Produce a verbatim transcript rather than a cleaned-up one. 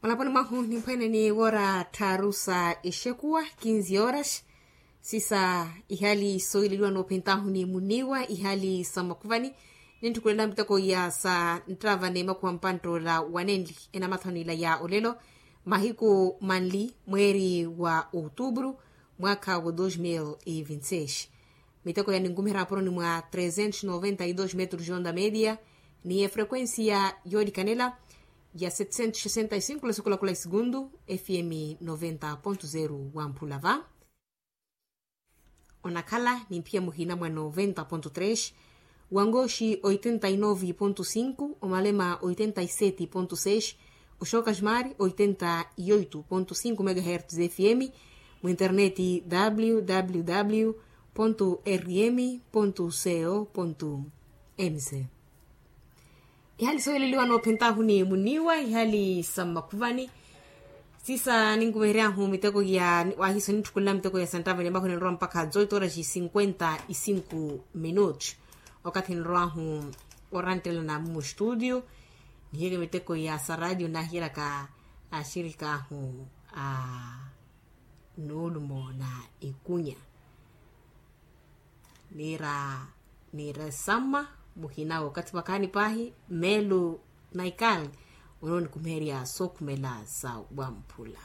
Olaponi mwahu nimphwene ni woora tthaaru sa exekuwa kinzi horas. Sisa ihali soyileliwa noophentahu ni muniwa ihali sa makuvani. Nintthukhulela miteko ya sa nttava ni makuwa mpanttoola wanenli enamathonela ya olelo mahiku manli mweeri wa outubru mwakha wa dos mil e vinti seis. Miteko ya ninkumiherya aporoni mwa trezentos noventa e dos metros onda media ni efrequencia yoolikanela ya setecentos sesenta e cinco lesikulakula e segundu. Fm noventa ponto zero wa mphulava onakhala ni mphiya muhina mwa noventa ponto tres, wangoxi oitenta e nove ponto cinco, omalema oitenta e sete ponto seis, oxokasmari oitenta e oito ponto cinco megahertz fm, mu interneti www rm co mc. Ihali soyeleliwa noophentahu ni muniwa ihali sa mmakhuvani. Sisa ninkumeheryahu miteko ya wahiso nintthukulela miteko ya santtava ni makhuni nrowa mpakha zoito horas cinquenta e cinco minutos. Okathi nrowahu oranttelana mmustudio nihiyeke miteko ya sa radio nahiyelaka axirikaahu a nuulumo na ikunya. Niira niira esamma muhina wookathi makaani paahi meelu naikal. Onoonikumeherya sookhumela sa wamphula.